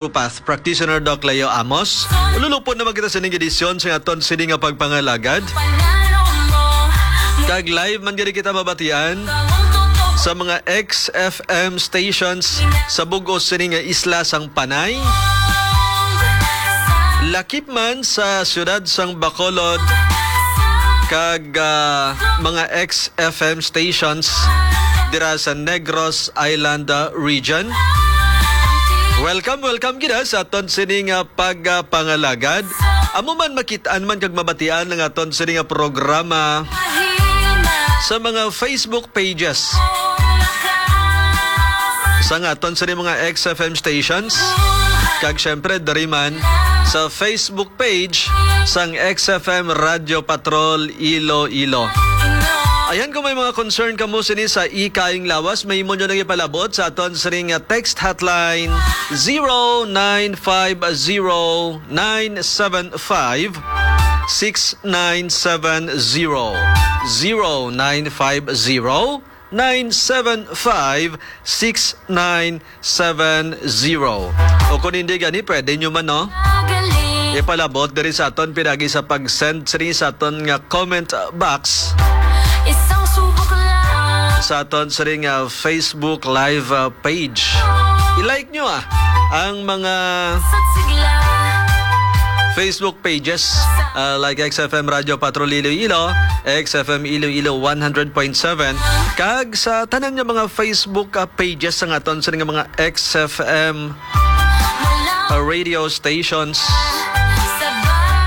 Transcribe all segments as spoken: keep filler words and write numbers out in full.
Naturopath Practitioner Doc Leo Amos. Ululupon naman kita sa ining edisyon sa aton sini nga pagpangalagad. Kag live man gani kita mabatian sa mga X F M stations sa bug-os sini nga isla sang Panay, lakip man sa siyudad sang Bacolod, kag, ah, mga X F M stations dira sa Negros Island, ah, region. Welcome, welcome gid, ah, sa aton sini nga pagpangalagad. Amo man makit-an man kag mabatian ang aton sini nga programa sa mga Facebook pages sang aton sini mga X F M stations, kag syempre diri man sa Facebook page sang X F M Radio Patrol Iloilo. Ayan, kung may mga concern kamo sini sa ika ayong lawas, may imo nyo lang ipalabot sa aton sini nga text hotline, zero nine five zero nine seven five six nine seven zero, zero nine five zero nine seven five six nine seven zero. O kung hindi gani, pwede nyo man, no? Ipalabot diri sa aton pinagi sa pag-send sini sa aton nga comment box Isang subok lang. Sa aton sini nga Facebook Live, uh, page. I-like nyo, ah, ang mga Sasigla. Facebook pages, uh, like X F M Radio Patrol Iloilo, X F M Iloilo one hundred point seven, kag sa tanan nga mga Facebook, uh, pages sa aton sini nga mga X F M, uh, radio stations.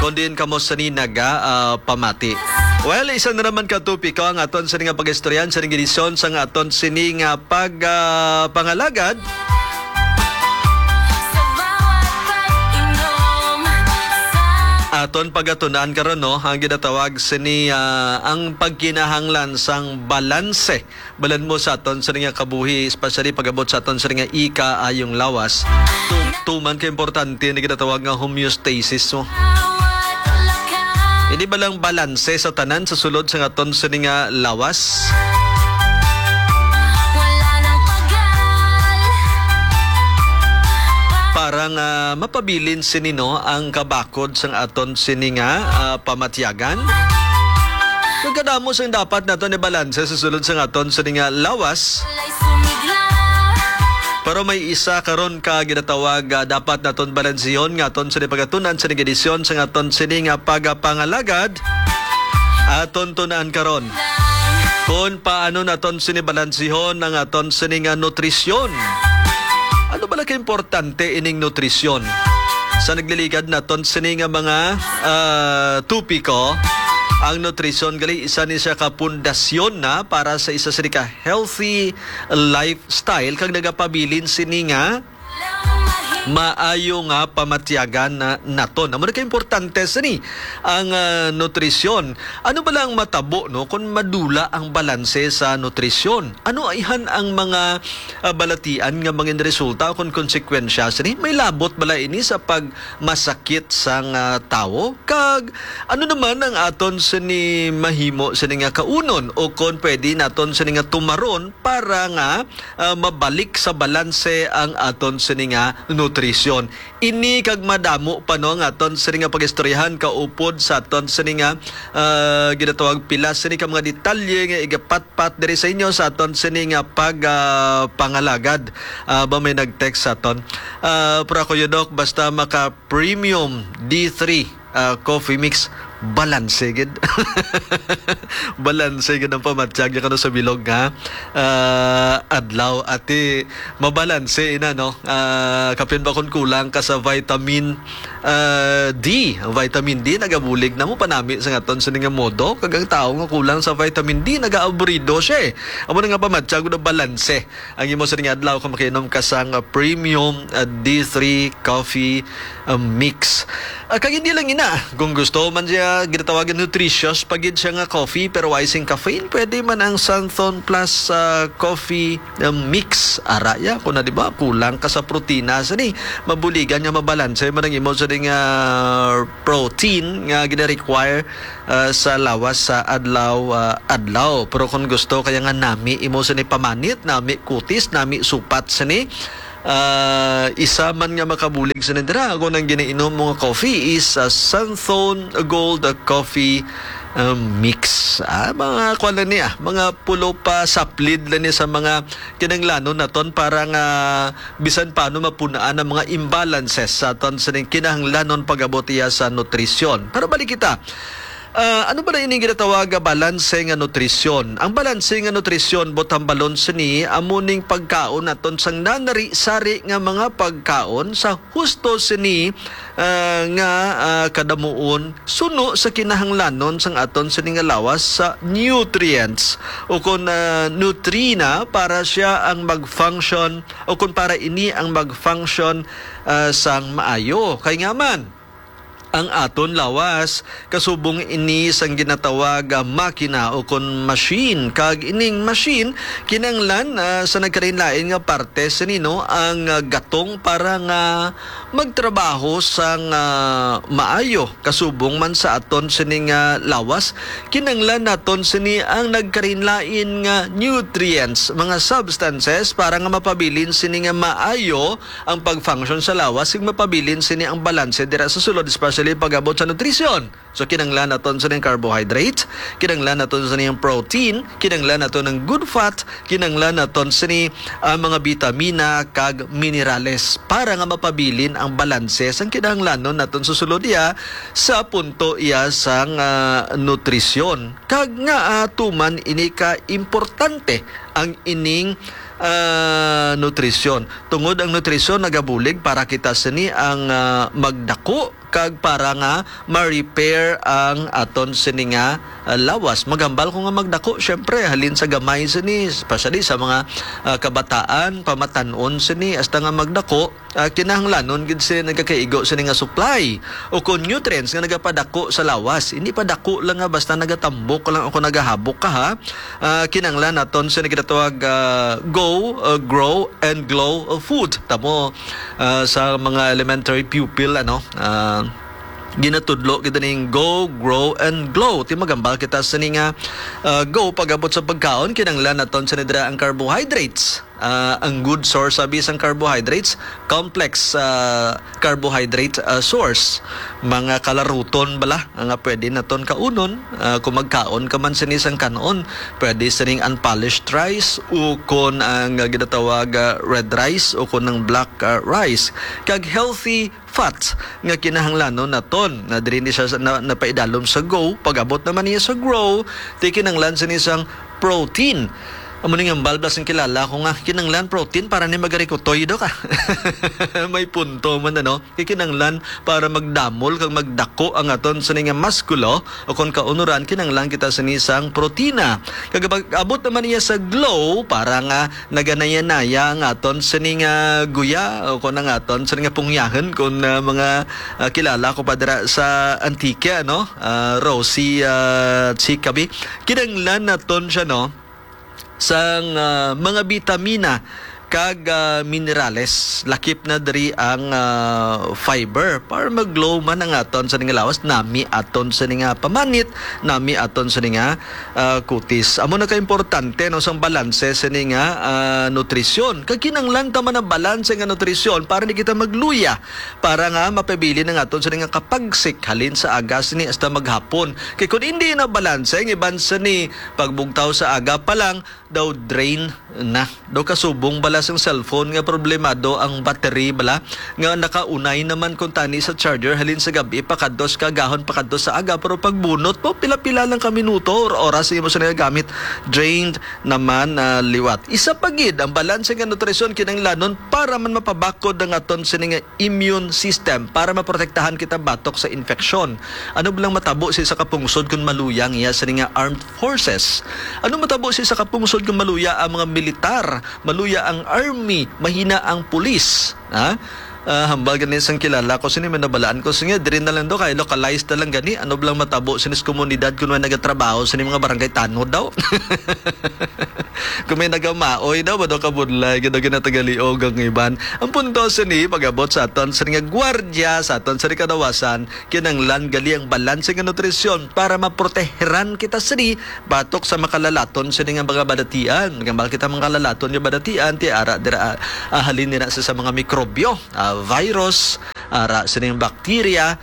Kung diin kamo sini naga, ah, pamati. Well, isa na naman ka topiko ang aton sini nga pag-istoryahan sa edisyon sang aton sini nga pag, ah, pangalagad. Aton pagatun-an karon, no, ang ginatawag sini, ah, ang pagkinahanglan sang balanse. Balan mo sa aton sini nga kabuhi, especially pag-abot sa aton sini nga ika ayong lawas. Tu-, tuman ka importante ni ginatawag nga homeostasis mo. Hindi ba lang balanse sa tanan sa sulod sa aton sini nga lawas? Para nga mapabilin sini, no, ang kabakod sang aton sini nga, ah, pamatyagan. Kung kadamo sing dapat naton ibalanse sa sulod sang aton sini nga lawas. Pero may isa karon ka ginatawag, ah, dapat naton balansihon nga aton sini pagatun-an sini edisyon sang aton sini nga pagapangalagad. Aton tun-an karon kung paano naton sini balansihon ang aton sini nga nutrisyon. Ano bala ka importante ining nutrisyon? Sa nagliligad naton sini nga mga, ah, topiko, ang nutrisyon gali isa ni siya ka pundasyon na para sa isa sini ka healthy lifestyle kag nagapabilin sini nga maayo nga pamatyagan na naton. Amo na ka importante sini ang, ah, nutrisyon. Ano bala ang matabo, no, kung madula ang balanse sa nutrisyon? Ano ayhan ang mga, ah, balatian nga mangin resulta o kon konsekwensya sini? May labot bala ini sa pagmasakit sang, ah, tawo? Kag ano naman ang aton sini mahimo sini nga kaunon o kon pwede naton sini nga tumaron para nga, ah, mabalik sa balanse ang aton sini nga nutrisyon? Ini kag madamo pa, no, nga aton sini nga pag-istoryahan kaupod sa aton sini nga, ah, ginatawag pila sini ka mga detalye nga igapatpat diri sa inyo sa aton sini nga pag, ah, pangalagad. Ah, ba may nag-text sa aton? Ah, pero ako yun, Doc, basta maka premium D three, ah, coffee mix, balanse gid. Balanse gid ang pamatyag niya kano sa bilog nga, ah, adlaw. Ati, mabalanse ina, no? Ah, kapin ba kung kulang ka sa vitamin, ah, D? Ang vitamin D nagabulig na mo panami sa ngaton sa nga modo. Kag ang tao nga kulang sa vitamin D, nagaaburido siya, eh. Amo na nga pamatyag na balanse ang imo sa nga adlaw kung makainom ka sang, ah, premium, ah, D three coffee, ah, mix. Ah, kag hindi lang ina, kung gusto man siya ginatawagan nutritious pa gid siya nga coffee pero way sing caffeine, pwede man ang Santhon Plus, ah, coffee, ah, mix. Ara ya, kung na, di ba, kulang ka sa protina sa ni, mabuligan nga mabalanse man ang imo sa nga protein nga gina-require, ah, sa lawas sa adlaw, ah, adlaw. Pero kung gusto kaya nga nami imo sa ni pamanit, nami kutis, nami supat sa ni, Ah, isa man nga makabulig sa nindira, ako nang ginainom mo nga coffee is, ah, Santhon Gold Coffee, ah, Mix. Ah, mga kuwan lang niya, mga pulo pa saplid lang niya sa mga kinahanglanon naton para nga bisan paano mapunaan ang mga imbalances sa aton sining kinahanglanon pag-abot iya sa nutrisyon. Pero balik kita. Ah, ano ba na ining ginatawag nga balanse nga nutrisyon? Ang balanse nga nutrisyon, butang balon sini, amo ning pagkaon naton sang nanari-sari nga mga pagkaon sa husto sini, ah, nga, ah, kadamuon suno sa kinahanglanon sang aton sini nga lawas sa nutrients, o kon, ah, nutrina, para siya ang mag-function, o kon para ini ang mag-function, ah, sang maayo. Kay nga man, ang aton lawas kasubong ini sang ginatawag nga makina o kon machine, kag ining machine kinahanglan, ah, sa nagkalain-lain nga parte sini, no, ang, ah, gatong para nga magtrabaho sang, ah, maayo. Kasubong man sa aton sini nga lawas, kinahanglan naton sini ang nagkalain-lain nga nutrients, mga substances, para nga mapabilin sini nga maayo ang pag-function sa lawas, kag mapabilin sini ang balanse dira sa sulod, especially pag-abot sa nutrisyon. So, kinahanglan naton sini ang carbohydrate, kinahanglan naton sini ang protein, kinahanglan naton ang good fat, kinahanglan naton sini ang mga bitamina kag minerales para nga mapabilin ang balanse sang kinahanglanon naton sa sulod iya sa punto iya sang, ah, nutrisyon. Kag nga, ah, tuman ini ka importante ang ining, ah, nutrisyon. Tungod ang nutrisyon nagabulig para kita sini ang, ah, magdako kag para nga ma-repair ang aton sini nga, ah, lawas. Maghambal ko nga magdako, syempre, halin sa gamay sini, especially sa mga, ah, kabataan, pamatan-on sini, hasta nga magdako, ah, kinahanglanon gid sini nagakaigo sini nga supply o kon nutrients nga nagapadako sa lawas. Hindi pa dako lang nga basta nagatambok ka lang o kon nagahabok ka, ha. Ah, kinahanglan naton sa ginatawag, ah, go, ah, grow, and glow, ah, food. Tamo, ah, sa mga elementary pupil, ano, ah, ginatudlo kita ning go, grow, and glow. Ti magambal kita sa ni nga, ah, go, pag-abot sa pagkaon, kinahanglan naton sa nidra ang carbohydrates. Ah, ang good source sabi sang carbohydrates, complex, ah, carbohydrate, ah, source. Mga kalaruton bala nga pwede naton kaunon, ah, kung magkaon ka man sini sang kanon, pwede sining unpolished rice o kon ang, ah, ginatawag, ah, red rice o kon ang black, ah, rice. Kag healthy fats nga kinahanglanon naton. Na diri ni siya sa, na, napaidalom sa go, pag-abot naman niya sa grow, ti kinahanglan sini sang protein. Amo ni nga balbas ang kilala ko nga kinahanglan protein para ni magarikotoy do ka. May punto man, ano? Kay kinahanglan para magdamol kag magdako ang aton sini nga maskulo o kon kaunuran, kinahanglan kita sini sang protina. Kag pag-abot naman niya sa glow, para nga naganayanaya ang aton sini nga guya o kon ang aton sini nga pungyahon, kon, ah, mga, ah, kilala ko pa dira sa Antique, no? Ah, Rosie, ah, Chikabi. Kinahanglan naton siya, no? Sang, ah, mga bitamina kag, ah, minerales. Lakip na diri ang, ah, fiber. Para mag-glow man ang aton sini nga lawas, nami aton sini nga pamanit, nami aton sini nga, ah, kutis. Amo na ka importante, no, sang balanse sini nga, ah, nutrisyon. Kag kinahanglan ta man ang balanse nga nutrisyon para di kita magluya, para nga mapabilin ang aton sini nga kapagsik halin sa aga sini hasta maghapon. Kay kun hindi na balanse ang iban sini, pagbugtaw sa aga pa lang, daw drain na. Daw kasubong bala sang cellphone nga problemado ang battery bala, nga nakaunay naman kuntani sa charger halin sa gab-i pakadto sa kagahon pakadto sa aga, pero pagbunot mo, pila-pila lang ka minuto or oras imo sa nagagamit, drained naman na liwat. Isa pa gid, ang balanse nga nutrisyon kinahanglanon para man mapabakod ang aton sini nga immune system para maprotektahan kita batok sa infeksyon. Ano ba lang matabo sa isa ka pungsod kung maluya ang iya sini nga armed forces? Ano matabo sa isa ka pungsod kung maluya ang mga militar, maluya ang army, mahina ang pulis? Ha? Ah, hambal gani sang kilala ko sini, may nabalaan ko. Sige, diri na lang daw, kay localized na lang gani. Ano lang matabo sini sa komunidad kung may nagatrabaho sini mga barangay tanod daw? Kung may nagamaoy daw, ba daw kabudlay, gid daw ginatagaliog ang iban. Ang punto sini, pag-abot sa aton sini nga gwardiya, sa aton sini kadawasan, kinanglan gali ang balanse nga nutrisyon para maproteheran kita sini batok sa makalalaton sini nga mga balatian. Nga mahal kita makalalaton nga balatian, ti ara dira, ah, halin nila sa, sa mga mikrobyo, ah, virus, ara sining bakterya,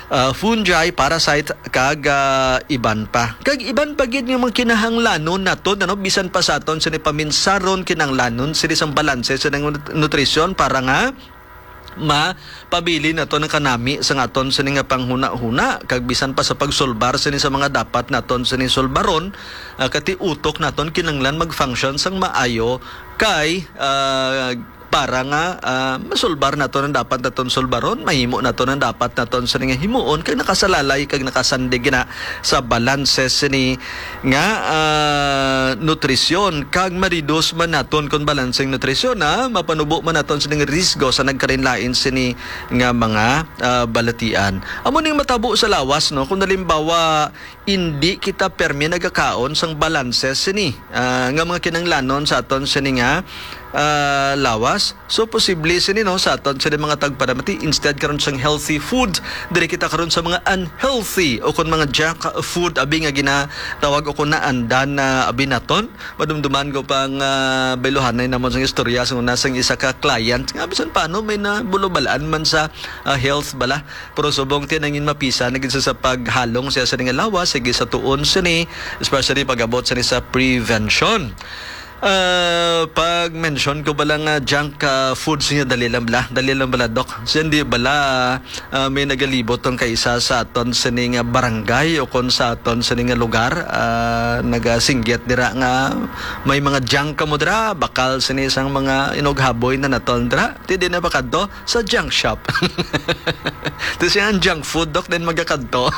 ah, fungi, parasite, kag, ah, iban pa. Kag iban pa gid nga mga kinahanglanon naton, ano, bisan pa sa aton sini paminsaron, kinahanglanon sini sang balanse sa nut-, nutrisyon para nga mapabilin naton ang kanami sa aton sini nga panghuna-huna, kag bisan pa sa pagsulbar sini sa mga dapat naton sini sulbaron, ah, kati utok naton kinanglan mag-function sang maayo kay, ah, para nga, ah, masulbar naton ang dapat naton sulbaron, mahimo naton ang dapat naton sini nga himuon, kag nakasalalay kag nakasandig na sa balanse sini nga, ah, nutrisyon, kag ma-reduce man naton kon balanseng nutrisyon, ah, mapanubo man naton sining risgo sa nagkalain-lain sini nga mga, ah, balatian. Amo ning matabo sa lawas, no, kung halimbawa indi kita permi nagakaon sang balanse sini, ah, nga mga kinanglanon sa aton sini nga, ah, lawas. So, posible sini, no, sa aton sini mga tagpanamati, instead karon sang healthy food, diri kita karon sa mga unhealthy o kon mga junk food, abi nga ginatawag o kon naandan na abi naton. Madumduman ko pang, ah, bayluhanay namon sang istorya sa una sang isa ka client nga bisan paano may nabulubal-an man sa, ah, health bala. Pero subong ti nangin mapisa na gid sa, sa paghalong siya sa nga lawas, sige sa tuon sini, especially pag-abot sini sa prevention. Ah, pag-mention ko ba lang nga junk, ah, food niya, dali lang bala, dali lang bala, Doc. Siya hindi bala, ah, may nagalibot tong kaisa sa aton sini nga barangay o kon sa aton sini nga lugar, ah, nagasinggit dira nga may mga junk kamo dira, bakal sini sang mga inughaboy na naton dira. Ti di na ba kadto sa junk shop? Ti siya ang junk food, Doc, din magakadto.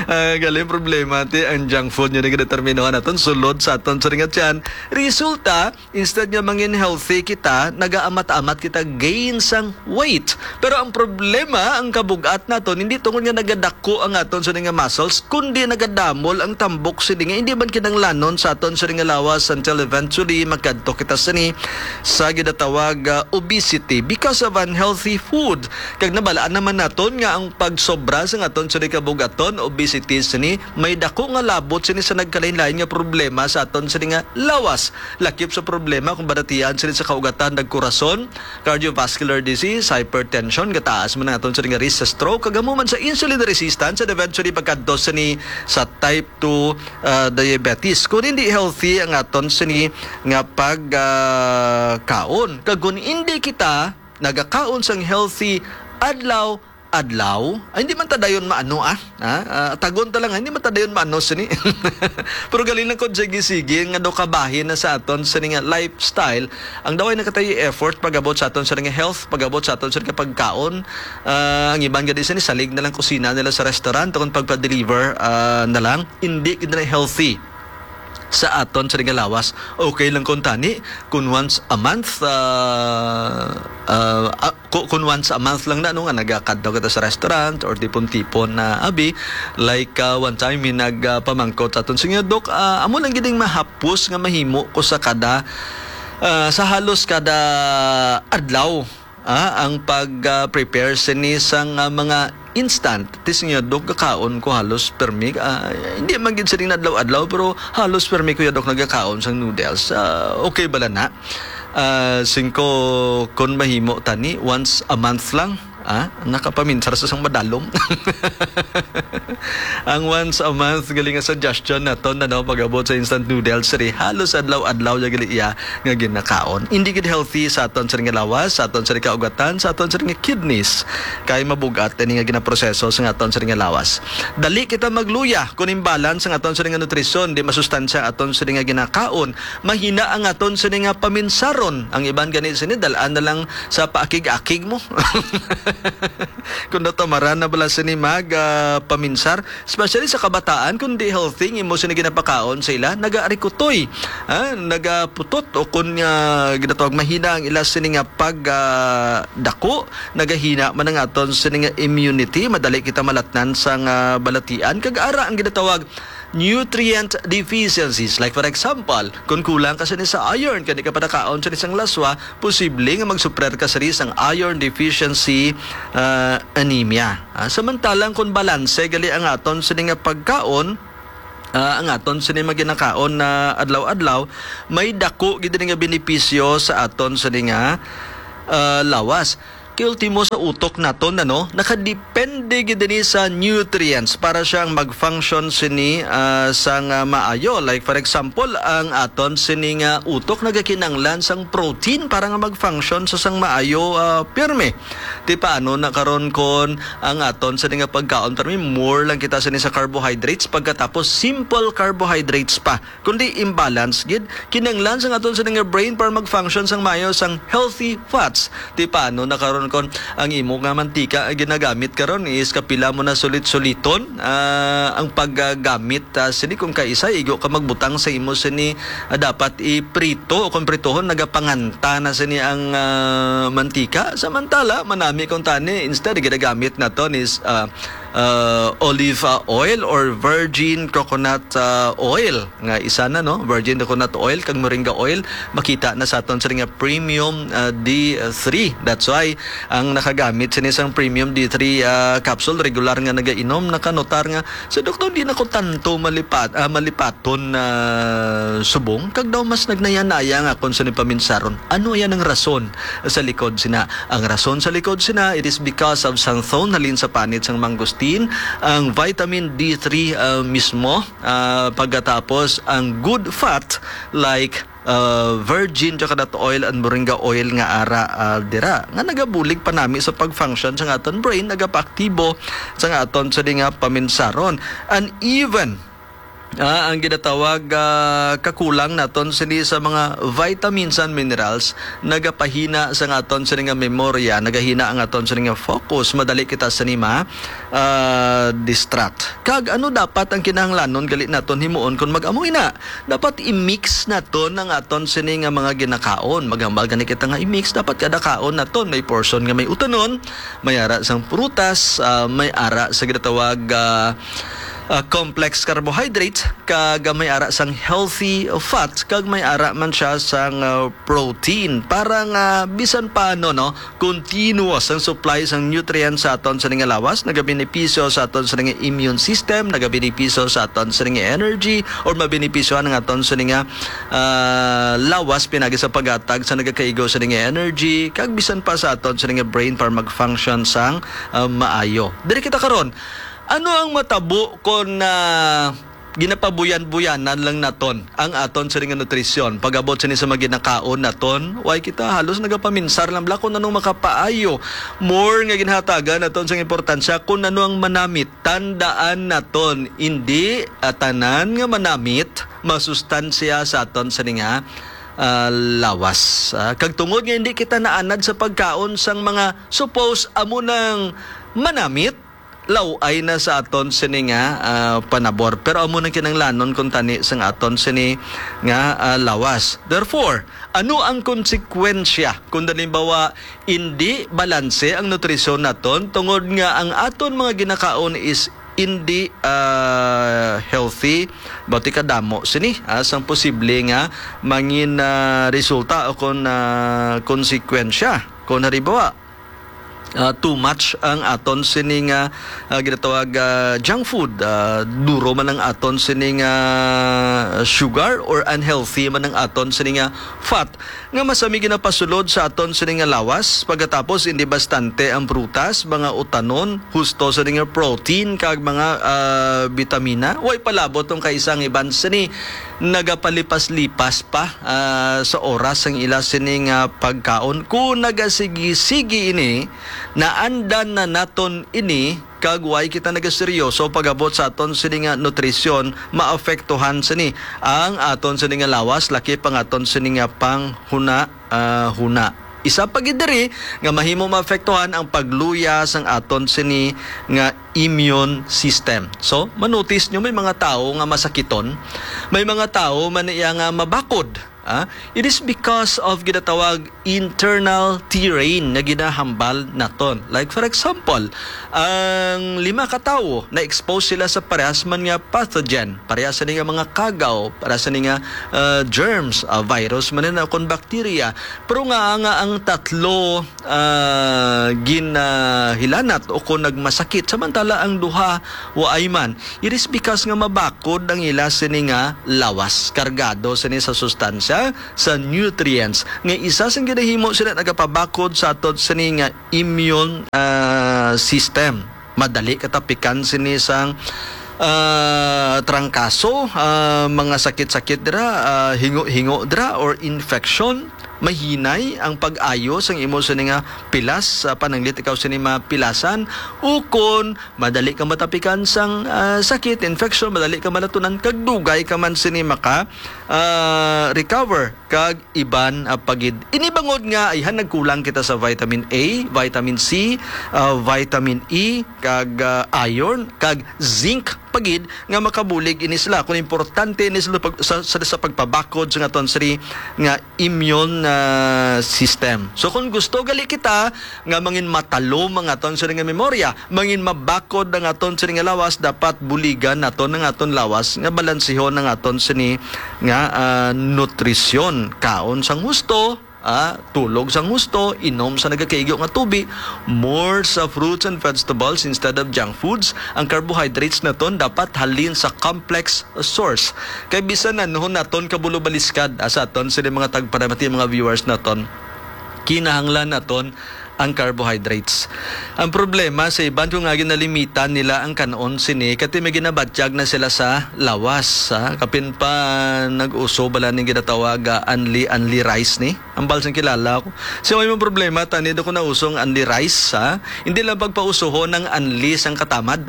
Ah, galing problema, ti ang junk food niya nagadeterminohan naton sulod sa aton sa ringat yan. Resulta, instead nga mangin healthy kita, nagaamat-amat kita gain sang weight. Pero ang problema, ang kabugat naton, hindi tungod nga nagadako ang aton sa nga muscles, kundi nagadamol ang tambok sini nga hindi man kinanglanon sa aton sa nga lawas until eventually makadto kita sini sa ginatawag, ah, obesity because of unhealthy food. Kag nabalaan naman naton nga ang pagsobra sa aton sini kabugaton, obesity sini, may dako nga labot sini sa nagkalain-lain nga problema sa aton sini nga lawas. Lakip sa problema kung badatian sini sa kaugatan, nagkurason, cardiovascular disease, hypertension, gataas man ang aton sini nga risk sa stroke, kag amo man sa insulin resistance, and eventually pagkadto sini sa type two, ah, diabetes. Kung hindi healthy ang aton sini nga pag, ah, kaon, kag kung hindi kita nagakaon sang healthy adlaw-adlaw, ay, hindi man ta dayon maano, ah. Ah, ah, tagon ta lang, hindi man ta dayon maano sini. Pero galing lang kung sige-sige nga do kabahin na sa aton sini nga lifestyle. Ang daway na katay effort pag-abot sa aton sini nga health, pag-abot sa aton sini nga pagkaon. Ah, ang iban gani sini salig na lang kusina nila sa restaurant, kung pagpa-deliver, ah, na lang, hindi gid na healthy sa aton sa nga lawas. Okay lang kung tani, kung once a month, ah, ah, ah, ku-, kung once a month lang na, no, nga nagakadto kita sa restaurant or tipon-tipon na abi, like, ah, one time, may nagpamangkot sa aton, "Sige, Dok, ah, amo lang gid ang mahapos nga mahimo ko sa kada, ah, sa halos kada adlaw." Ah, ang pag, ah, prepare sini sang, ah, mga instant. Ti siya, "Dok, gakaon ko halos permi." Ah, hindi man gid sining adlaw-adlaw, pero halos permi ko ya, Dok, nagakaon sang noodles. Ah, okay bala na? Ah, singko, kun mahimo tani, once a month lang. Ah, nakapaminsar sa sang madalom. Ang once a month, galing nga suggestion naton, ano, pag-abot sa instant noodles, siri, halos adlaw-adlaw ya gali iya nga ginakaon. Hindi gid healthy sa aton sa nga lawas, sa aton sa kaugatan, sa aton sa nga kidneys. Kay mabugat ini nga ginaproseso sa aton sa nga lawas. Dali kita magluya kung imbalance ang aton sa nga nutrisyon, di masustansya aton sa nga ginakaon. Mahina ang aton sa nga paminsaron. Ang iban gani sini, dalaan na lang sa paakig-akig mo. Kung natamaran na bala sini mag, ah, paminsar, especially sa kabataan, kung di healthy ang imo sini ginapakaon sa ila, naga-arikutoy, ah, nagaputot, o kung, ah, ginatawag mahina ang ila sini nga pag, ah, dako, nagahina man ang aton sini nga immunity, madali kita malatnan sang, ah, balatian, kag ara ang ginatawag nutrient deficiencies. Like, for example, kung kulang ka sini sa iron, kani ka padakaon sini sang laswa, posible nga magsuprer ka sini sang iron deficiency, ah, anemia. Ah, samantalang kung balanse gali ang aton sini nga pagkaon, ah, ang aton sini maginakaon na adlaw-adlaw, may dako gid ini nga benepisyo sa aton sini nga, ah, lawas. Kay ultimo sa utok naton, ano, nakadepende gid ini sa nutrients para siyang mag-function sini, ah, sang, ah, maayo. Like, for example, ang aton sini nga utok nagakinanglan sang protein para nga mag-function sa sang maayo, ah, pirme. Ti paano na karon kon ang aton sini nga pagkaon, pirme, more lang kita sini sa carbohydrates, pagkatapos simple carbohydrates pa? Kundi imbalance gid, kinahanglan sang aton sini nga brain para mag-function sang maayo sang healthy fats. Ti paano na karon kon ang imo nga mantika nga ginagamit karon is kapila mo na sulit-suliton, ah, ang paggamit, ah, sini, kung kaisa igo ka magbutang sa imo sini, ah, dapat iprito o kung pritohon, nagapanganta na sini ang, ah, mantika. Samantala, manami kung tani, instead ginagamit naton is, ah, ah, olive, ah, oil or virgin coconut, ah, oil, nga isa na, no? Virgin coconut oil kag moringa oil, makita na sa aton sini nga premium, ah, D three. That's why ang nakagamit sini sang premium D three, ah, capsule, regular nga nagainom, nakanotar nga, "Sa doktor, di na ko tanto malipat, ah, malipaton na subong, kag daw mas nagnayanaya nga akon sini paminsaron." Ano yan ang rason sa likod sina? Ang rason sa likod sina, it is because of xanthone, halin sa panit sang mangosteen, ang vitamin D three, ah, mismo, ah, pagkatapos ang good fat like, ah, virgin coconut oil and moringa oil nga ara, ah, dira, nga nagabulig pa nami sa pag-function sa aton brain, nagapaaktibo sa aton sini nga paminsaron. And even, ah, ang ginatawag, ah, kakulang naton sini sa mga vitamins and minerals, nagapahina sa aton sini nga memorya, nagahina ang aton sini nga focus, madali kita sini ma, ah, distract. Kag ano dapat ang kinahanglanon gali naton himuon kon mag-amo ina? Dapat i-mix naton ang aton sini nga mga ginakaon. Maghambal gani kita nga i-mix, dapat kada kaon naton may portion nga may utanon, may ara sang prutas, ah, may ara sa ginatawag, ah, ah, complex carbohydrates, kag may ara sang healthy fat, kag may ara man siya sang, ah, protein. Para nga bisan paano, no, continuous ang supply sang nutrients sa aton sini nga lawas, nagabenepisyo sa aton sini nga immune system, nagabenepisyo sa aton sini nga energy, or mabenepisyohan ang aton sini nga, ah, lawas pinagi sa paghatag sa nagakaigo sini nga energy, kag bisan pa sa aton sini nga brain para mag-function sang, ah, maayo. Diri kita karon, ano ang matabo kon, ah, ginapabuyan-buyanan lang naton ang aton sini nga nutrisyon? Pag-abot sini sa mga ginakaon naton, why kita halos nagapaminsar lang bala kung anong makapaayo. More nga ginhatagan naton sang importansya kung ano ang manamit. Tandaan naton, hindi, ah, tanan nga manamit masustansya sa aton sini nga, ah, lawas. Ah, kag tungod nga hindi kita naanad sa pagkaon sang mga suppose amo nang manamit, law-ay na sa aton sini nga, ah, panabor. Pero amo nang kinahanglanon kung tani sang aton sini nga, ah, lawas. Therefore, ano ang konsekwensya kung halimbawa indi balanse ang nutrisyon naton tungod nga ang aton mga ginakaon is indi, ah, healthy? Bati kadamo sini, ah, sang posible nga mangin, ah, resulta o kon, ah, konsekwensya. Kung halimbawa, ah, too much ang aton sini nga, ah, ginatawag, ah, junk food. Ah, duro man ang aton sini nga sugar or unhealthy man ang aton sini nga fat nga masami ginapasulod sa aton sini nga lawas. Pagkatapos, hindi bastante ang prutas, mga utanon, husto sini nga protein, kag mga, ah, bitamina. Way palabot tong kaisa ang iban sini nagapalipas-lipas pa, ah, sa oras ang ila sini nga pagkaon. Kung nagasigi-sigi ini, naandan na naton ini, kag way kita nagaseryoso pag-abot sa aton sini nga nutrisyon, maapektuhan sini ang aton sini nga lawas, lakip ang aton sini nga panghuna, ah, huna. Isa pa gid diri nga mahimo maapektuhan ang pagluya sang aton sini nga immune system. So, manotice nyo, may mga tawo nga masakiton, may mga tawo man iya nga mabakod. Ah, it is because of ginatawag internal terrain nga ginahambal naton. Like, for example, ang lima ka tawo na-expose sila sa parehas man nga pathogen, parehas ni nga mga kagaw, parehas ni nga, ah, germs, ah, virus man na kon bacteria. Pero nga, nga ang tatlo, ah, ginahilanat o kon nagmasakit, samantala ang duha waay man, it is because nga mabakod ang ila sini nga lawas, kargado sini sa sustansya, sa nutrients, nga isa sing ginahimo sila nagapabakod sa aton sini nga immune, ah, system. Madali katapikan sini sang, ah, trangkaso, ah, mga sakit-sakit dira, ah, hingo-hingo dira, or infection. Mahinay ang pag-ayo sang imo sini nga pilas, ah, pananglit ikaw sini mapilasan, ukon madali ka matapikan sang, ah, sakit, infection, madali ka malatunan, kag dugay ka man sini maka, ah, recover, kag iban, ah, pa gid. Ini bangod nga ayhan nagkulang kita sa vitamin A, vitamin C, ah, vitamin E, kag, ah, iron, kag zinc pa gid nga makabulig ini sila. Kung importante ini sila pag, sa, sa, sa pagpabakod sa aton sini nga immune, ah, system. So kung gusto gali kita nga mangin matalom ang aton sini nga memorya, mangin mabakod ang aton sini nga lawas, dapat buligan naton ang aton lawas nga balansihon ang aton sini nga, ah, nutrisyon. Kaon sang husto, ah, tulog sang husto, inom sa nagakaigo nga tubi, more sa fruits and vegetables instead of junk foods. Ang carbohydrates naton dapat halin sa complex source. Kay bisan nanhon naton kabulo baliskad, ah, sa aton sini mga tagparamati, mga viewers naton, kinahanglan naton ang carbohydrates. Ang problema sa iban, kung nga ginalimita nila ang kanon sini, kati may ginabatyag na sila sa lawas, ha? Kapin pa nag-uso bala ning ginatawag, ah, unli, unli rice ni. Ang balsang kilala ko. So, may mong problema, tani, do ko na usong unli rice, ha? Hindi lang pagpausuhon ng unli sang katamad.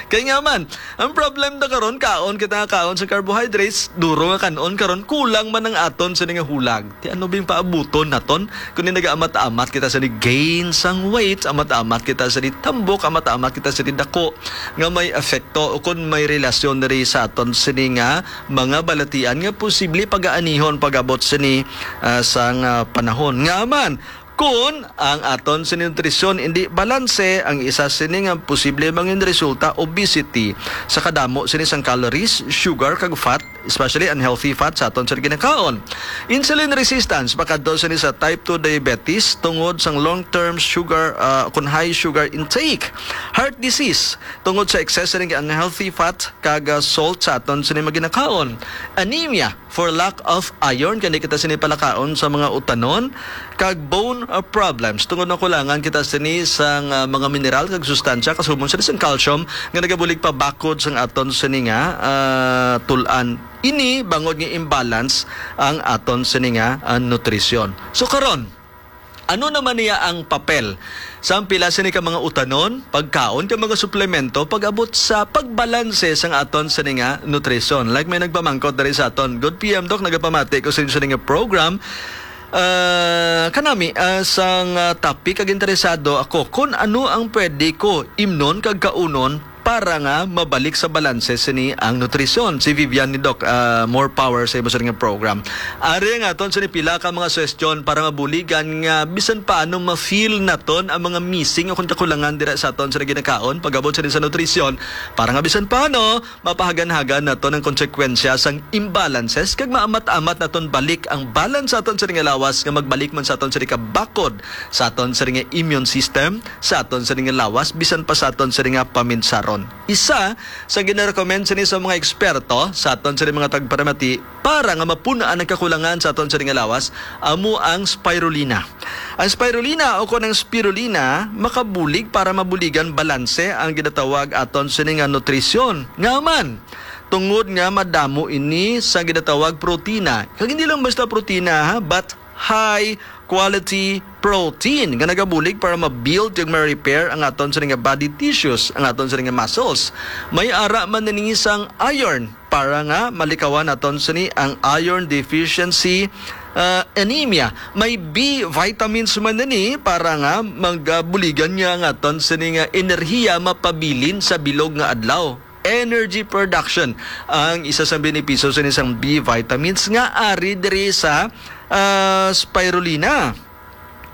Kay nga man, ang problem na karon, kaon kita nga kaon sa carbohydrates, duro nga kanon karon, kulang man ang aton sini nga hulag. Ti ano bing paabuton naton? Kung nagaamat-amat kita sa ni gain sang weight, amat-amat kita sa ni tambok, amat-amat kita sa ni dako, nga may epekto o kung may relasyon diri sa aton sini nga mga balatian nga posible pagaanihon pag-abot sini, ah, sang, ah, panahon. Nga man, kun ang aton sini nutrisyon indi balanse, ang isa sini nga posible mangin resulta, obesity, sa kadamo sini sang calories, sugar, kag fat, especially unhealthy fat sa aton sini ginakaon. Insulin resistance, makadto sini sa type two diabetes tungod sang long-term sugar, ah, kun high sugar intake. Heart disease, tungod sa excess sini unhealthy fat kag, ah, salt sa aton sini mga ginakaon. Anemia, for lack of iron, kani kita sini palakaon sa mga utanon, kag bone, uh, problems, tungod na kulangan kita sini sang, uh, mga mineral kag sustansya, kasubong sini sang calcium, nga nagabulig pabakod sang aton sini nga, uh, tul-an. Ini bangod nga imbalance ang aton sini nga, uh, nutrisyon. So karon, ano naman niya ang papel sang pila sini ka mga utanon, pagkaon, kag mga suplemento pag-abot sa pagbalanse sang aton sini nga nutrisyon? Like, may nagpamangkot diri sa aton, "Good P M, Doc, nagapamati ko sa inyo sini nga program." Ah, kanami, ah, sang, ah, topic, kag interesado ako kung ano ang pwede ko imnon kag kaunon para nga mabalik sa balanse sini ang nutrisyon. Si Vivian ni Doc, ah, more power sa imo sini nga program. Ari ang aton sini pila ka mga suhestyon para mabuligan nga bisan paano ma-feel naton ang mga missing o kung kakulangan dira sa aton sini ginakaon pag-abot sini sa nutrisyon, para nga bisan paano mapahagan-hagan naton ang konsekwensya sang imbalances kag maamat-amat naton balik ang balance sa aton sini nga lawas nga magbalik man sa aton sini kabakod sa aton sini nga immune system, sa aton sini nga lawas, bisan pa sa aton sini nga paminsaron. Isa sa ginarecommend sini sa mga eksperto sa aton sini mga tagparamati para nga mapun-an ang kakulangan sa aton sini nga lawas, amo ang spirulina. Ang spirulina o kon ang spirulina makabulig para mabuligan balanse ang ginatawag aton sini nga nutrisyon. Nga man, tungod nga madamo ini sa ginatawag protina. Kag hindi lang basta protina, ha, but high quality protein nga nagabulig para ma-build kag ma-repair ang aton sini nga body tissues, ang aton sini nga muscles. May ara man ini sang iron para nga malikawan naton sini ang iron deficiency ah, anemia. May B vitamins man ini para nga magabuligan niya ang aton sini nga enerhiya mapabilin sa bilog nga adlaw. Energy production ang isa sa benepisyo sini sang B vitamins nga ari diri sa, ah, spirulina.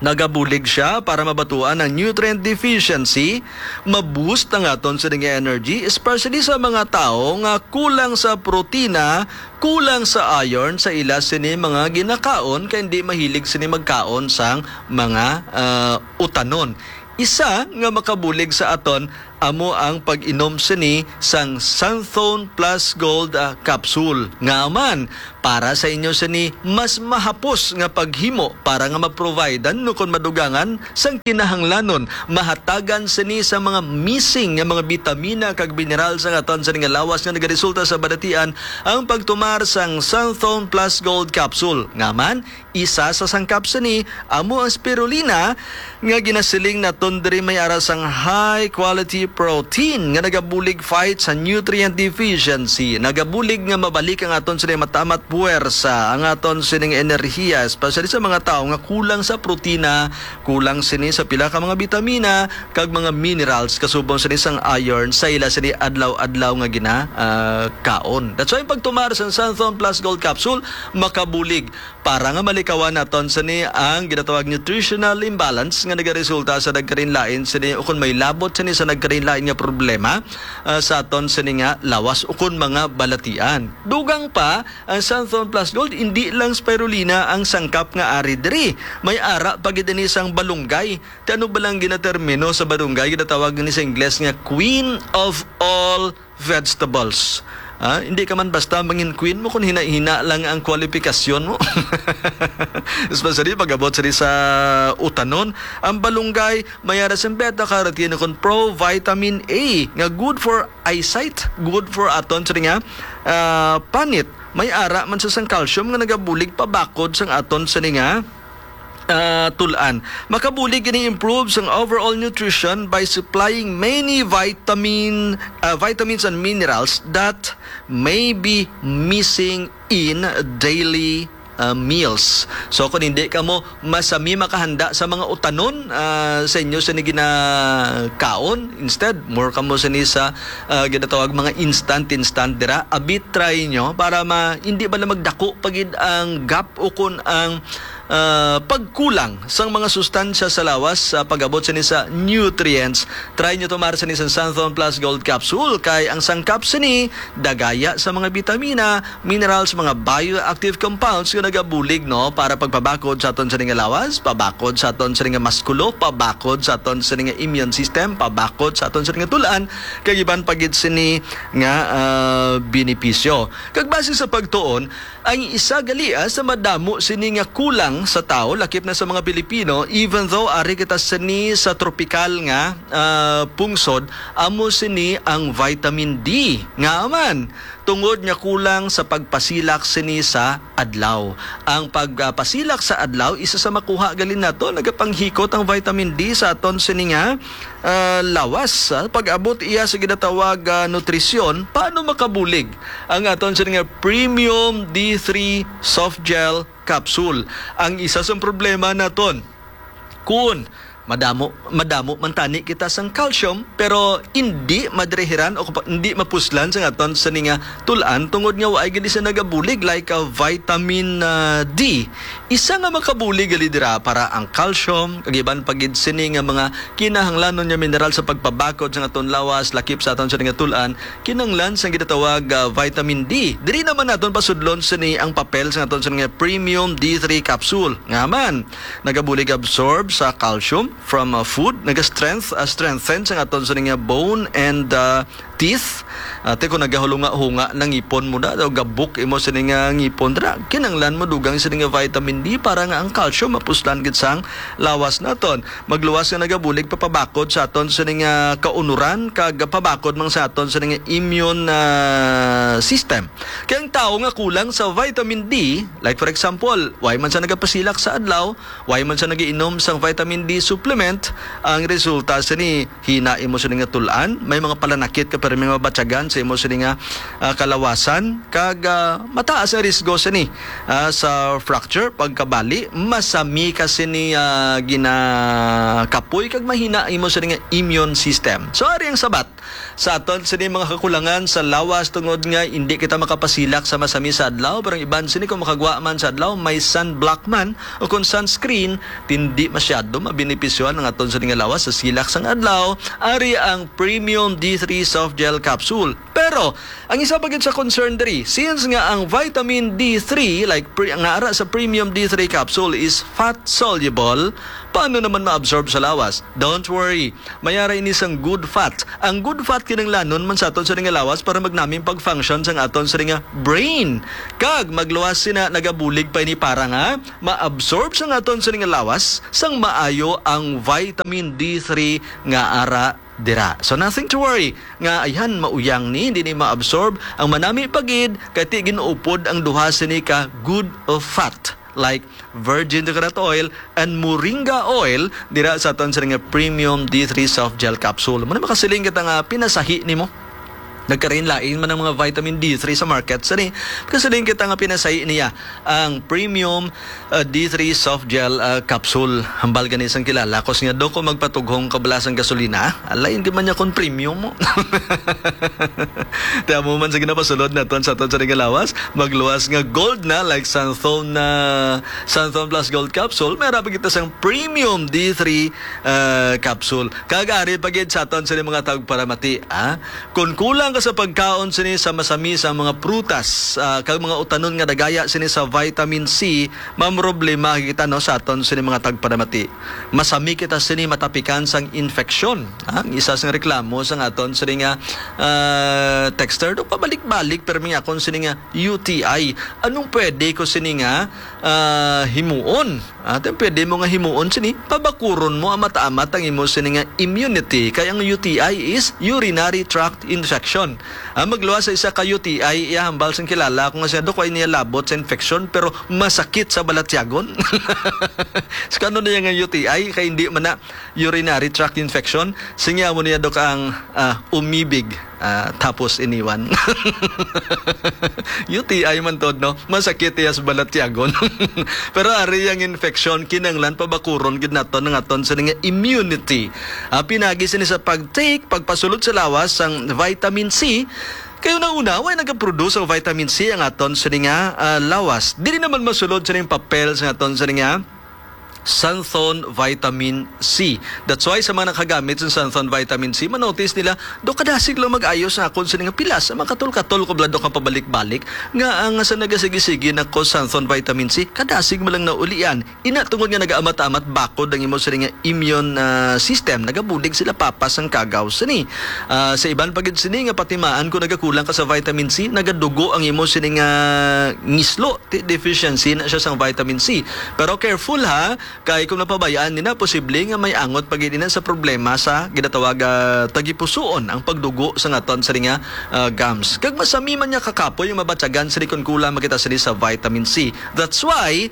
Nagabulig siya para mabatuan ang nutrient deficiency, ma-boost ang aton sini nga energy, especially sa mga tawo nga kulang sa protina, kulang sa iron sa ila sini mga ginakaon, kay hindi mahilig sini magkaon sang mga, ah, utanon. Isa nga makabulig sa aton amo ang pag-inom sini sang Santhone Plus Gold, ah, capsule. Nga man, para sa inyo sini mas mahapos nga paghimo para nga ma-providean no kon madugangan sang kinahanglanon, mahatagan sini sa mga missing nga mga bitamina kag mineral sa aton sini nga lawas nga nagaresulta sa balatian ang pagtumar sang Santhone Plus Gold capsule. Nga man, isa sa sangkap sini amo ang spirulina nga ginasiling naton diri may ara sang high quality protein nga nagabulig fight sa nutrient deficiency. Nagabulig nga mabalik ang aton sini matamat puwersa, ang aton sining enerhiya, especially sa mga tawo nga kulang sa protina, kulang sini sa pila ka mga bitamina kag mga minerals kasubong sini sang iron sa ila sini adlaw-adlaw nga gina, ah, kaon. That's why ang pagtumar sa Santhon Plus Gold Capsule makabulig para nga malikawan naton sini ang ginatawag nutritional imbalance nga nagaresulta sa nagkarinlain sini ukon may labot sini sa nagkarinlain nga problema, ah, sa aton sini nga lawas ukon mga balatian. Dugang pa, ang Santhon Plus Gold, hindi lang spirulina ang sangkap nga ari diri. May ara pa gid ini sang balunggay. Ti ano ba lang ginatermino sa balunggay? Ginatawag ni sa Ingles nga queen of all vegetables. Ah, hindi ka man basta mangin queen mo kung hina-hina lang ang kwalifikasyon mo. Especially pag-abot sa, sa utanon. Ang balunggay, may ara sing beta carotene kon pro vitamin A nga good for eyesight, good for aton sa nga, ah, panit. May ara man sa sang calcium nga nagabulig pabakod sang aton sa nga, ah, tul-an. Makabulig ini improve sang overall nutrition by supplying many vitamin, ah, vitamins and minerals that may be missing in daily, ah, meals. So, kung hindi ka mo masami makahanda sa mga utanon, ah, sa inyo sa ginakaon, instead, more ka mo sini sa, ah, ginatawag mga instant, instant dira. Abi, try nyo para ma-, hindi ba na magdako pa gid ang gap o kung ang, ah, pagkulang sang mga sustansya sa lawas sa pag-abot sini sa nutrients. Try nyo tumar sini sa Santhon Plus Gold Capsule, kay ang sangkap sini dagaya sa mga bitamina, minerals, mga bioactive compounds nga nagabulig, no, para pagpabakod sa aton sini nga lawas, pabakod sa aton sini nga maskulo, pabakod sa aton sini nga immune system, pabakod sa aton sini nga tul-an, kag iban pa gid sini nga, ah, benepisyo. Kag base sa pagtuon, ang isa gali, ah, sa madamo sini nga kulang sa tawo, lakip na sa mga Pilipino, even though ari kita sini sa tropikal nga, ah, pungsod, amo sini ang vitamin D. Nga man, tungod nga kulang sa pagpasilak sini sa adlaw. Ang pagpasilak sa adlaw, isa sa makuha gali nato, nagapanghikot ang vitamin D sa aton sini nga, ah, lawas. Ah, pag-abot iya sa ginatawag, ah, nutrisyon, paano makabulig ang aton sini nga premium D three soft gel capsule? Ang isa sa problema naton, kun madamo, madamo man tani kita sang calcium, pero hindi madirihiran o kapa-, hindi mapuslan sa aton sini nga tul-an tungod nga waay gid siya nagabulig like, ah, vitamin, ah, D. Isa nga makabulig gali dira para ang calcium, kag iban pa gid sini nga mga kinahanglanon nga mineral sa pagpabakod sa aton lawas, lakip sa aton sini nga tul-an, kinahanglan sa ginatawag, ah, vitamin D. Diri naman naton pasudlon sini ang papel sa aton sini nga premium D three capsule. Nga man, nagabulig absorb sa calcium from, ah, food, naga-strength, ah, strengthen sa aton sini nga bone and, ah, teeth. Ate, kung nagahulunga-hunga na ngipon mo na, o gabok imo sini nga ngipon, dira, kinanglan mo dugang sini nga vitamin D para nga ang calcium mapuslan gid sang lawas naton. Magluwas nga nagabulig papabakod sa aton sini nga kaunuran, kag pabakod man sa aton sini nga immune, ah, system. Kay ang tawo nga kulang sa vitamin D, like for example, way man sa nagapasilak sa adlaw, way man sa nagiinom sang vitamin D supplement, ang resulta sini, hina imo sini nga tul-an, may mga palanakit ka pa may mabatyagan sa imo sini nga, ah, kalawasan, kag, ah, mataas ang risgo sini, ah, sa fracture, pagkabali, masami ka sini, ah, ginakapoy, kag mahina imo sini nga immune system. So, ari ang sabat sa aton sini mga kakulangan sa lawas, tungod nga hindi kita makapasilak sa masami sa adlaw, pero ang iban sini kung makagwa man sa adlaw, may sunblock man o kung sunscreen, hindi masyado mabenepisyohan ang aton sini nga lawas sa silak sang adlaw. Ari ang Premium D three Soft Gel Capsule. Pero, ang isa pa gid sa concern diri, since nga ang vitamin D three, like pre, nga ara sa Premium D three Capsule, is fat soluble, paano naman ma-absorb sa lawas? Don't worry, may ara ini sang good fat. Ang good fat kinahanglanon man sa aton sini nga lawas para magnaming pag-function sang aton sini nga brain. Kag magluwas sina, nagabulig pa ini para nga ma-absorb sang aton sini nga lawas sang maayo ang vitamin D three nga ara dira. So, nothing to worry nga ayhan mauyang ni, hindi ni ma-absorb. Ang manami pa gid kay ti ginuupod ang duha sini ka good fat, like virgin coconut oil and moringa oil, dira sa aton sini nga Premium D three Soft Gel Capsule. Muna makasiling kita nga pinasahi nimo. Nagkalain-lain man ang mga vitamin D three sa market, sini. Makasiling kita nga pinasahi niya ang Premium, uh, D three Soft Gel, uh, Capsule. Hambal gani sang kilala ko, siya, "Dok, kung magpatughong ka bala sang gasolina, alain di man niya kung premium mo." Tiyan mo man sa ginapasulod naton sa aton sa nga lawas, magluwas nga gold na, like Santhon na, Santhon Plus Gold Capsule, may harapan kita sang Premium D three, uh, Capsule. Kag ari pa gid sa aton sa mga tagparamati, ah. Kung kulang ka sa pagkaon sini sa masami sa mga prutas, ah, kag mga utanon nga dagaya sini sa vitamin C, mamroblema kita, no, sa aton sini mga tagparamati. Masami kita sini matapikan sang infeksyon. Ah, ang isa sang reklamo sang aton sini nga, ah, texter, do pabalik-balik, pero may akon sini nga U T I. Anong pwede ko sini nga, ah, himuon? Ate, pwede mo nga himuon sini, pabakuron mo amat-amat ang imo sini nga immunity, kay ang U T I is urinary tract infection. Ah, magluwas sa isa ka U T I, iya hambal sang kilala ko nga siya, "Dok, way niya labot sa infection, pero masakit sa balatyagon." So, kano na iya nga U T I, kay hindi man na urinary tract infection? Singya mo niya, Dok, ang, ah, umibig. Ah, tapos iniwan. U T I man tod, no? Masakit iya sa balatyagon. Pero ari ang infection, kinanglan pabakuron gid naton ang aton sini nga immunity. Ah, pinagi sini sa pag-take, pagpasulod sa lawas sang vitamin C. Kay una-una, way nagaproduce ang vitamin C ang aton sini nga, ah, lawas. Dili naman masulod sining papel sa aton sini nga Santhon Vitamin C. That's why sa mga nakagamit sa Santhon Vitamin C, manotice nila, "Do, kadasig lang mag-ayos sa akon sini nga pilas. Makatol-katol ko bala, Dok, ang pabalik-balik. Nga ang sa nagasigi-sige na ko Santhon Vitamin C, kadasig mo lang naulian." Ina, tungod nga nagaamat-amat bakod ang imo sini nga immune, ah, system, nagabulig sila papas ang kagaw sini. Ah, sa iban pa gid sini nga patimaan, kung nagakulang ka sa vitamin C, nagadugo ang imo sini nga ngislo. Ti-, deficiency na siya sang vitamin C. Pero careful, ha, kay kung napabayaan nina, posible nga may angot pa gid ina sa problema sa ginatawag, ah, tagipusoon, ang pagdugo sa aton sini nga, ah, gums. Kag masami man niya kakapoy ang mabatyagan sini kung kulang man kita sini sa vitamin C. That's why,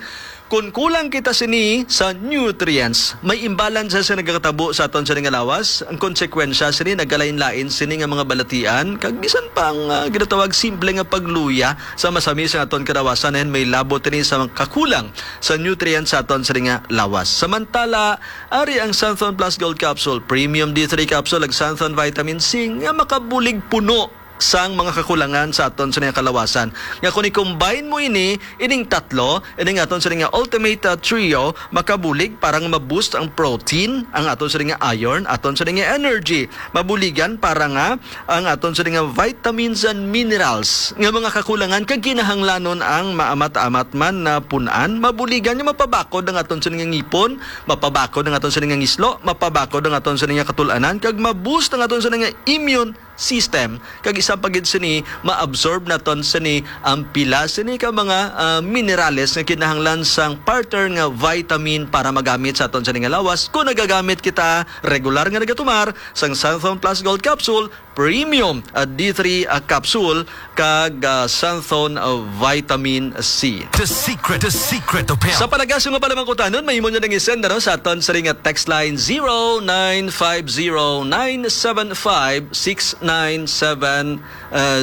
kung kulang kita sini sa nutrients, may imbalance sa nagakatabo sa aton sini nga lawas. Ang konsekwensya sini, nagkalain-lain sini nga mga balatian, kag bisan pa ang, ah, ginatawag simple nga pagluya sa masami sa aton kalawasan, and may labot ini sa mga kakulang sa nutrients sa aton sini nga lawas. Samantala, ari ang Santhon Plus Gold Capsule, Premium D three Capsule, ag Santhon Vitamin C nga makabulig puno sang mga kakulangan sa aton sini nga kalawasan. Nga kung i-combine mo ini, ining tatlo, ining aton sini nga Ultimate, uh, Trio, makabulig para nga ma-boost ang protein, ang aton sini nga iron, aton sini nga energy. Mabuligan para nga ang aton sini nga vitamins and minerals nga mga kakulangan kag kinahanglanon ang maamat-amat man na pun-an. Mabuligan nga mapabakod ang aton sini nga ngipon, mapabakod ang aton sini nga ngislo, mapabakod ang aton sini nga katul-anan, kag ma-boost ang aton sini nga immune system, kag isa pa gid sini, ma-absorb naton sini ang pila sini ka mga, ah, minerales nga kinahanglan sang partner nga vitamin para magamit sa aton sini nga lawas. Kung nagagamit kita regular nga nagatumar sang Santhon Plus Gold Capsule, Premium, ah, D three, ah, capsule, kag, ah, Xanthone, ah, Vitamin C. The secret, the secret of health. Sa palagas nga pala mangkutanon, mahimo nyo nang isend, ano, sa aton sa ring text line zero nine five zero nine seven five six nine seven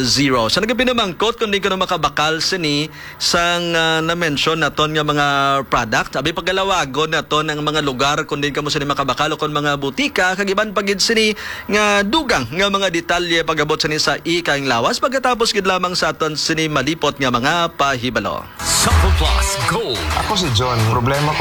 zero. Sa nagapinamangkot kung di ko na makabakal sini sang, ah, na-mention naton nga mga product, abi pagalawagon naton ang mga lugar kung di kamo sini makabakal o kung mga butika, kag iban pa gid sini nga dugang nga mga detalye pag-abot sini sa ikaing lawas pagkatapos gid lamang sa aton sini malipot nga mga pahibalo. Sample Plus Gold. Ako si John. Problema